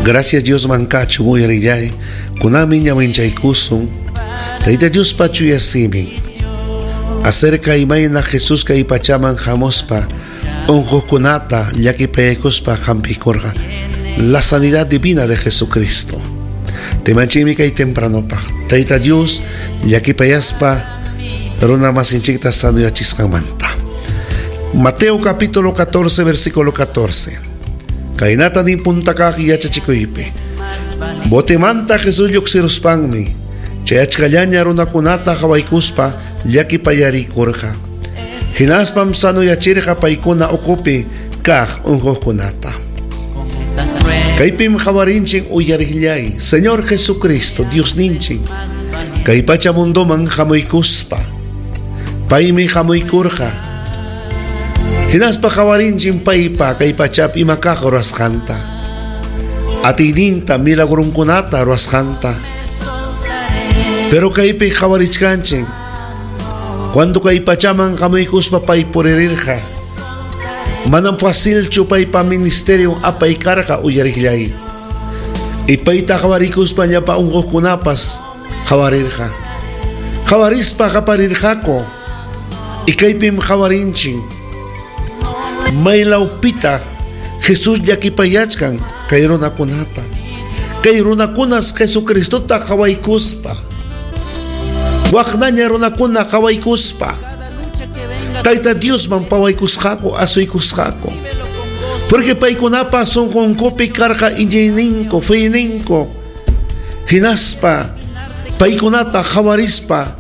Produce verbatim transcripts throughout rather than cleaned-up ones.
Gracias Dios mankachu uyarillay, kunami ñawinchaykusun, Tayta Dios pachu yasimi. Acerca imayna Jesús kay pachaman hamuspa, unquqkunata llakipaykuspa hampikurqa. La sanidad divina de Jesucristo. Temanchimi kay tempranopaq. Tayta Dios llakipayaspa runa masinchikta sanuyachisqanmanta. Mateo capítulo catorce versículo catorce. Kaynata nin puntakaq yachachikuypi. Botemanta Jesús lluqsiruspanmi chay achkallaña runakunata qhawaykuspa llakipayarikurqa. Hinaspam sanuyachirqa paykuna ukupi kaq unquqkunata. Kaypim qhawarinchik uyarillay, Señor Jesucristo, Dios ninchik, kay pacha mundoman hamuykuspa, paymi hamuykurqa. Hinaspa qhawarinchik paypa kay pachapi ima kaq ruwasqanta, atiyninta milagrunkunata ruwasqanta. Pero kaypi qhawarichkanchik, cuando kay pachaman hamuykuspa pay puririrqa, manam facilchu paypa ministerio apaykarqa uyarillay. Y payta qhawarikuspa llapa unquqkunapas qhawarirqa. Qhawarispa qaparirqaku. Y kaypim qhawarinchik, maylawpita Jesús llakipayachkan kay runakunata. Kay runakunas Jesucristota qhawaykuspa, waqnaña runakuna qhawaykuspa, Tayta Diosman pawaykusqaku, asuykusqaku. Porque paykunapa sunqunkupi karqa iñiyninku, feyninku. Hinaspa paykunata qhawarispa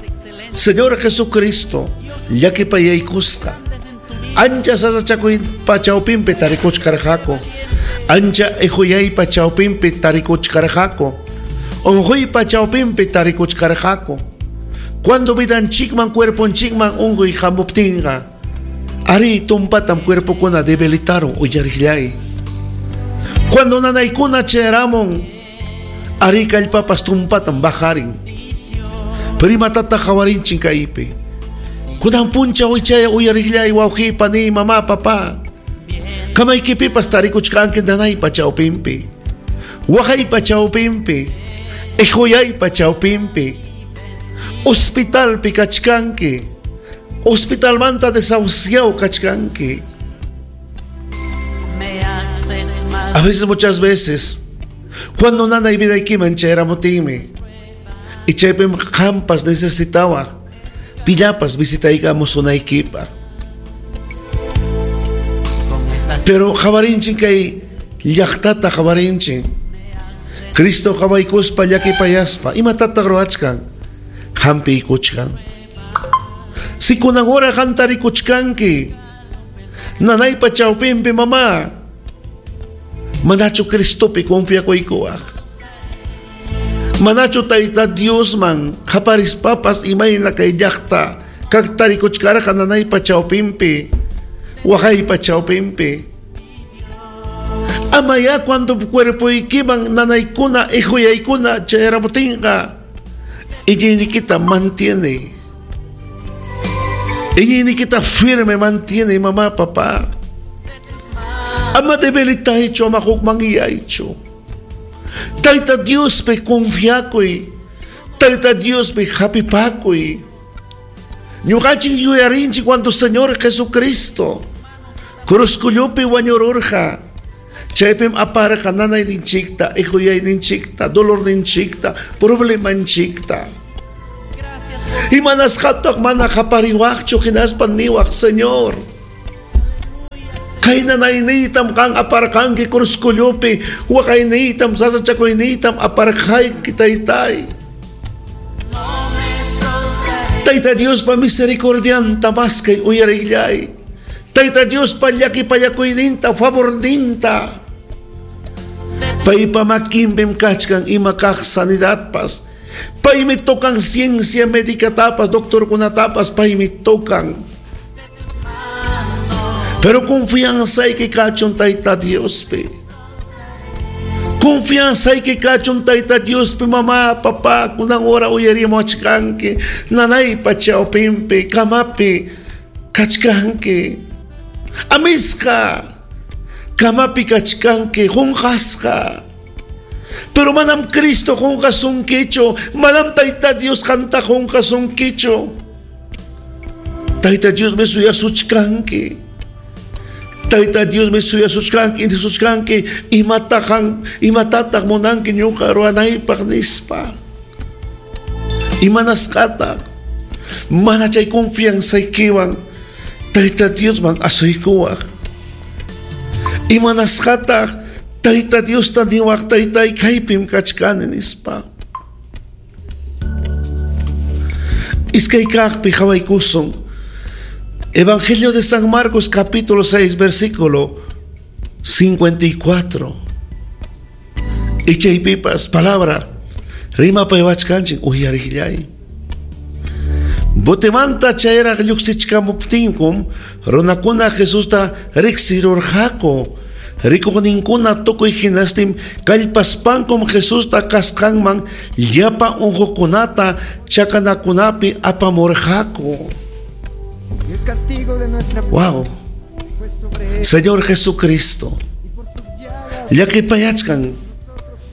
Señor Jesucristo llakipayaykusqa. Ancha sasachakuypa chawpinpi tarikuchkarqaku. Ancha ihuyaypa chawpinpi tarikuchkarqaku. Unquypa chawpinpi tarikuchkarqaku. Cuando vidanchikman cuerponchikman unquy hamuptinqa, ari tumpatam cuerpokuna debilitaron uyarillay. Cuando nanaykuna chayaramun, ari kallpapas tumpatam bajarin. Pero imatata qhawarinchik kaypi. Kunan punchaw ichaya uyarillay wawqi, pani, mamá, papá. Kamaykipipas tarikuchkanki nanaypa chawpinpi, waqaypa chawpinpi, ihuyaypa chawpinpi. Hospitalpi kachkanki, hospitalmanta desahuciado kachkanki. A veces, muchas veces, cuando nanay vidaykiman chayramutimi, y chaypim qampas necesitaba, pillapas visitaykamusunaykipa. Pero qhawarinchik kay llaqtata qhawarinchik, Cristo qhawaykuspa llakipayaspa, imatataq ruwachkan? Hampiykuchkan. Si kunan hora qantarikuchkanki, nanaypa chawpinpi mamá, manachu Cristopi confiakuykuwaq? Manachu Tayta Diosman qaparispapas imayna kay llaqta kaqtarikuchkarqa nanaypa chawpinpi, waqaypa chawpinpi? Amaya cuando cuerpoykiman nanaykuna ihuyaykuna chayaramutinqa, iñiynikita mantiene. Iñiynikita firme mantiene, mamá, papá. Ama debilitaychu, ama hukmanyaychu. Tayta Diospi confiakuy. Tayta Diospi hapipakuy. Ñuqanchik yuyarinchik cuando Señor Jesucristo cruzkullupi wañururqa, chaypim aparqa nanayninchikta, ihuyayninchikta, dolorninchikta, problemanchikta. Imanasqataq mana qapariwaqchu hinaspa niwaq, Señor, kay nanayniytam qan aparqanki cruzkullupi, waqayniytam, sasachakuyniytam aparqayki, Taytay. Tayta Diospa misericordianta maskay uyarillay. Tayta Diospa llakipayakuyninta, favorninta. Paypa makinpim kachkan ima kaq sanidadpas. Paymi tocan ciencia médica tapas, doctorkunatapas, paymi tocan. Pero confianza hay que kachun Tayta Diospi. Confianza hay que kachun Tayta Diospi, mamá, papá, kunan hora uyarimuachkanki, nanaypa chawpinpi, kamapi kachkanki. Amisqa, kamapi kachkanki, qunqasqa. Pero manam Cristo qunqasunkichu, manam Tayta Dios qanta qunqasunkichu. Tayta Dios me suyasuchkanki. Tayta Dios me suyasuchkanki, inisuchkanki, imataqan, imatataq munanki ñuqa ruwanaypaq nispa. Imanasqataq mana chay confianzaykiwan Tayta Diosman asuykuwaq. Imanasqataq Tayta Diosta niwaq taytay kaypim kachkani nispa. Iskay kaqpi qhawaykusun. Evangelio de San Marcos capítulo seis versículo cincuenta y cuatro. Ichaypipas palabra rimapayachkanchik uyarillay. Botemanta chayraq lluqsichkamuptinkum runakuna Jesusta riqsirurqaku. Rikuqninkuna tukuy hinastin kallpaspankum Jesusta kasqanman llapa unqukunata chakanakunapi apamurqaku. El castigo de nuestra Wow. fue sobre él, Señor Jesucristo, y por sus llagas llakipayachkan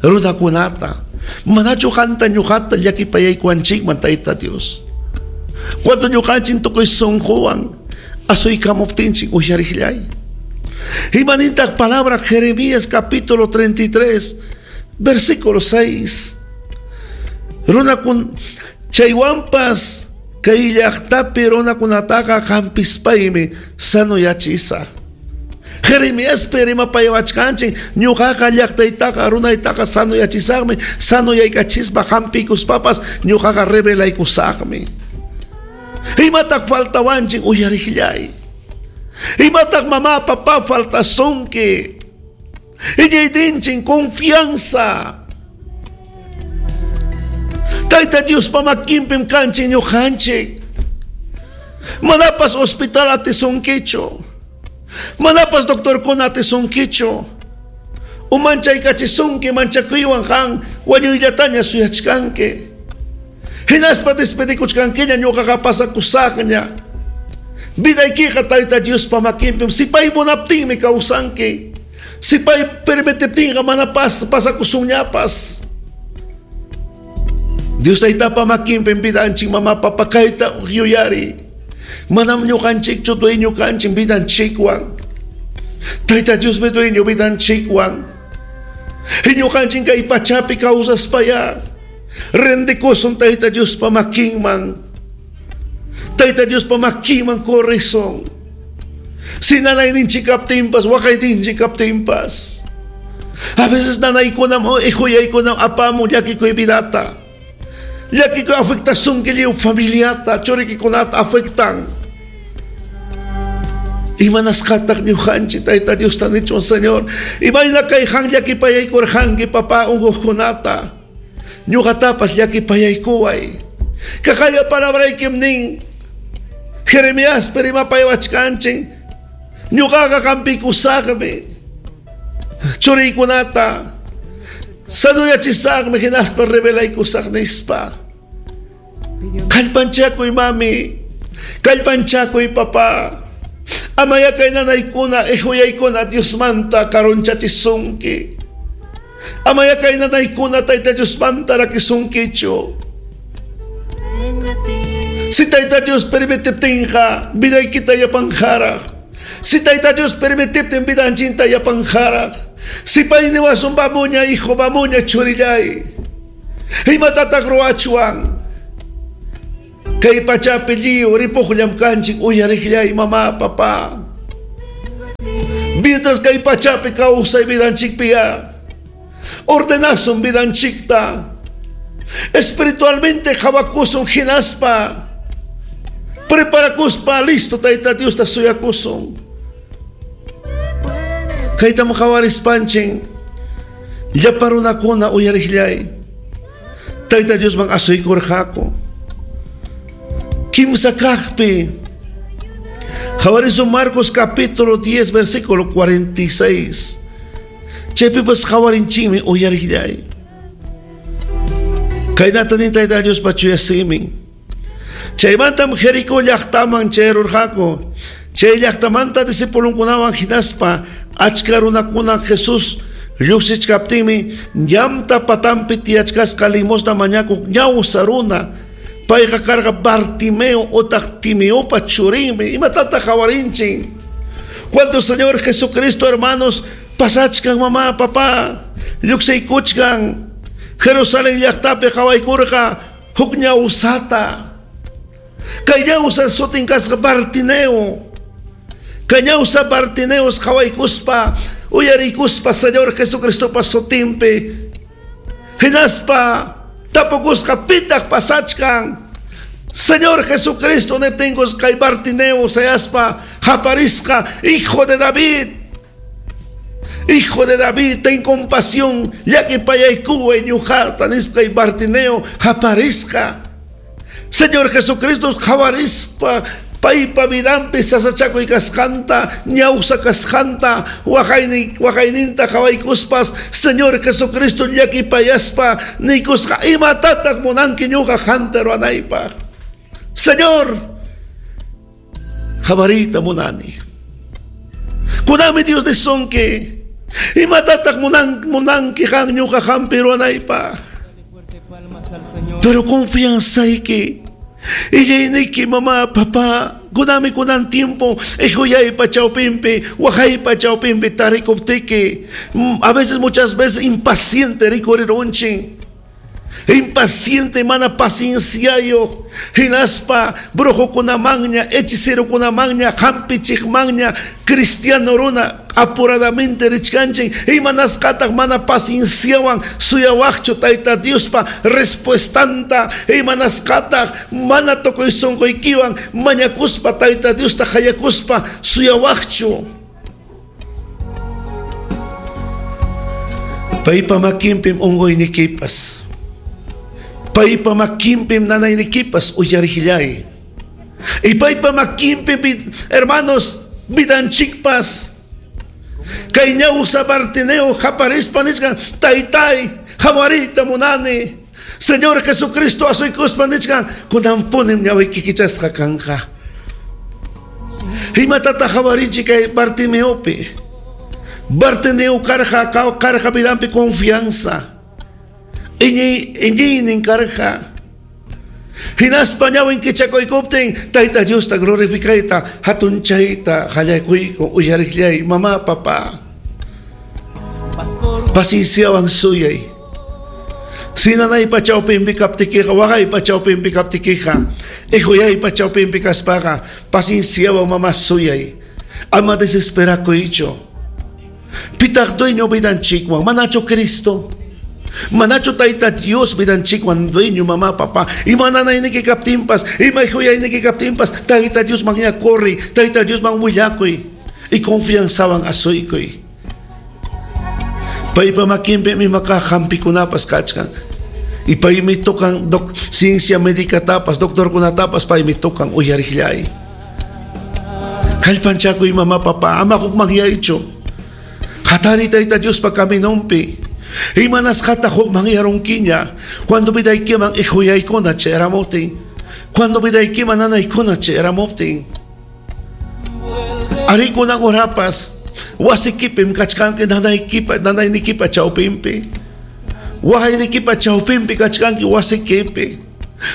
runakunata, manachu qanta ñuqata llakipayaykuwanchikman Tayta Dios. Cuando ñuqanchik tukuy sunquwan asuykamuptinchik uyarillay. Imanintaq palabra Jeremías capítulo treinta y tres versículo seis. Runakun chaywanpas kay llaqtapi runakunataqa hampispaymi sanuyachisaq. Jeremíaspi rimapayawachkanchik ñuqaqa llaqtaytaqa runaytaqa sanuyachisaqmi, sanuyaykachispa hampiykuspapas ñuqaqa revelaykusaqmi. Imataq faltawanchik uyarillay. Imataq mamá papá faltasunki. Iñiyninchik confianza. Tayta Diospa makinpim kanchik ñuqanchik. Manapas hospital atisunkichu. Manapas doctorkuna atisunkichu. Umanchaykachisunki manchakuywan qan wañuyllataña suyachkanki. Hinaspa despedikuchkankiña ñuqaqa pasakusaqña. Vidaykiqa Tayta Diospa makinpim. Si pay munaptinmi kawsanki. Si pay permitiptinqa mana pas pasakusunñapas. Dios Taytapa makinpim vidanchik mama papa kayta yuyari. Manam ñuqanchikchu dueño kanchik vidanchikwan. Tayta Diosmi dueño vidanchikwan. Ñuqanchik kay pachapi kawsaspaya rendikusun Tayta Diospa makinman. Tayta Diospa makinman corrison. Si nanayninchik kaptinpas, waqayninchik kaptinpas. A veces nanaykunam o ihuyaykunam apamun llakikuy vidata. Llakikuy afectasunki lliw familiata, churikikunata afectan. Imanasqataq ñuqanchik Tayta Diosta nichwan Señor. Imayna kay han llakipayaykurqanki papá unquqkunata. Ñuqatapas llakipayaykuway. Kaqaya palabraykim nin. Jeremías rimapayawachkanchik. Ñuqaqa hampikusaqmi. Churiykunata sanuyachisaqmi hinaspa revelaykusaq nispa. Kallpanchakuy mami, kallpanchakuy papá. Amaya kay nanaykuna, ihuyaykuna Diosmanta karunchachisunki. Amaya kay nanaykuna Tayta Diosmanta rakisunkichu. Si Tayta Dios permitiptinqa vidaykita yapanjaraq. Si Tayta Dios permitiptin vidanchinta yapanjaraq. Si pay niwasun vamuña hijo, vamuña churillay. Imatataq ruwachwan. Kay pachapi lliw ripuqllam kanchik uyariqllay mamá, papá. Mientras kay pachapi kawsay vidanchikpiya. Ordenasun vidanchikta. Espiritualmente hawakusun hinaspa. Preparakuspa listo Tayta Diosta suyakusun. Kaytam qawarispanchin llapa runakuna uyariqllay. Tayta Diosman asuykurqaku. Kimsa kaqpi qawarisun Marcos capítulo diez versículo cuarenta y seis. Chaypipas qawarinchikmi uyariqllay. Kaynata nin Tayta Diospa chuya simin. Chaymantam Jericó llaqtaman chayrurqaku. Chay llaqtamanta discipulunkunawan hinaspa achka runakuna Jesús Lluqsichkaptinmi llamta patampi tiyachkasqa limosna mañakuq ñawsa runa. Payqa karqa Bartimeo otaq Timeopa churinmi. Imatataq qawarinchik? Cuando el Señor Jesucristo, hermanos, pasachkan mamá, papá, lluqsiykuchkan Jerusalén llaqtapi qawaykurqa huk ñawsata. Kay ñawsa sutin kasqa Bartimeo. Kay ñawsa Bartimeos qawaykuspa uyarikuspa Señor Jesucristopa sutinpi hinaspa tapukusqa pitaq pasachkan. Señor Jesucristo niptinkus kay Bartimeo sayaspa haparisqa, hijo de David, hijo de David, ten compasión, llakipayaykuway ñuqata nispa kay Bartimeo haparisqa. Señor Jesucristo qawarispa paypa vidanpi sasachakuy kasqanta, ñawsa kasqanta, waqaynin waqayninta qawaykuspas Señor Jesucristo llakipayaspa niykusqa imatataq munanki ñuqa qanta ruwanaypaq. Señor, qawariyta munani. Kunanmi Dios nisunki, imatataq munan munanki qan ñuqa qampi ruwanaypaq. Pero confianzayki illayniki mamá, papá, kunami kunan tiempo, ihuyaypa chawpinpi, waqaypa chawpinpi tarikuptiki, a veces, muchas veces impaciente rikurirunchik. Impaciente mana pacienciayuq, hinaspa brujokunamanña, hechicerokunamanña, hampichiqmanña, cristiano runa apuradamente richkanchik, imanasqataq mana pacienciawan suyawaqchu Tayta Diospa respuestanta, imanasqataq mana tukuy sunquykiwan mañakuspa Tayta Diosta hayakuspa suyawaqchu. Paypa makinpim unquynikipas, paypa makinpim nanaynikipas uyarillay. Y paypa makinpim, hermanos, vidanchikpas. Kay ñawsa Bartimeo haparispa nichkan, taytay, hawariyta munani. Señor Jesucristo asuykuspa nichkan, kunanpunim ñawiyki kichasqa kanqa. Imatataq hawarinchik kay Bartimeopi? Bartimeo karqa, karqa vidanpi confianza. Iñiynin karqa. Hinaspa ñawin kichakuykuptin Tayta Diosta glorifikayta hatunchayta qallaykuyku uyariqllay mamá, papá. Pacienciawan suyay. Si nanaypa chawpinpi kaptikiqa, waqaypa chawpinpi kaptikiqa, ihuyaypa chawpinpi kaspaqa, pacienciawan mamá suyay. Ama desesperakuychu. Pitaq dueño vidanchikwan, manachu Cristo? Manachu Tayta Dios vidanchikwan dueño mamá, papá? Ima nanayniki kaptinpas, ima ihuyayniki kaptinpas, Tayta Dios man corri, Tayta Dios man willakuy, y confianzawan asuykuy. Paypa makinpi imaka hampikunapas kachkan. Y paymi tocan doc, ciencia médica tapas, doctorkunatapas paymi tocan uyariqllay. Kallpanchakuy mamá, papá, ama hukmanyaychu. Hatari Tayta Diospa caminonpi. Imanasqata hukmanyarunkiña. Cuando vidaykiman ihuyaykuna chayramuptin. Cuando vidaykiman nanaykuna chayramuptin. Arikunan urapas wasikipim kachkanki nanaykipa nanaynikipa chawpinpi. Waqaynikipa chawpinpi kachkanki wasikipi.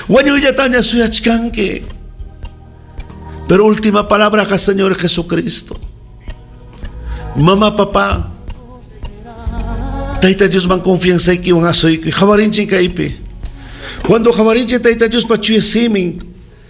Wañuyllataña suyachkanki. Pero última palabra acá, Señor Jesucristo. Mamá, papá, Tayta Dios man confianza ikiwan asuykuy. Qawarinchik kaypi. Cuando qawarinchik Tayta Diospa chuya simin,